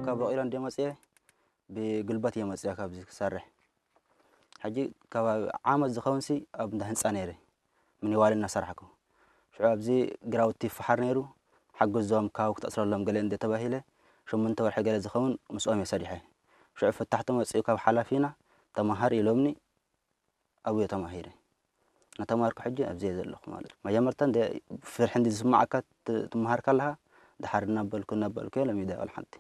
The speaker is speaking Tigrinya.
ካብ በቂሎ እንደ መፅየ ብጉልበት እየ መፅየ ካብዚ ክሰርሕ። ሕጂ ከባቢ ዓመት ዝኸውን ሲ ኣብ እንዳ ህንፃ ነይረ፣ ምኒዋል እናሰራሕኩ። ሽዑ ኣብዚ ግራውቲ ይፈሓር ነይሩ፣ ሓግዞም፣ ካው ክተእስረሎም ገለ እንደ ተባሂለ፣ ሸሞንተ ወርሒ ገለ ዝኸውን ምስኦም እየ ሰሪሐ። ሽዑ ፈታሕቲ መፅኡ ካብ ሓላፊና ተማሃር ኢሎምኒ፣ ኣብየ ተማሂረ። እናተማሃርኩ ሕጂ ኣብዚ እየ ዘለኹ ማለት እዩ። መጀመርታ እንደ ፍርሒ እንዲ ዝስማዓካ ት-፣ ትመሃር ከለኻ፣ ድሓር እናበልኩ እናበልኩ እየ ለሚደ። ወላ ሓንቲ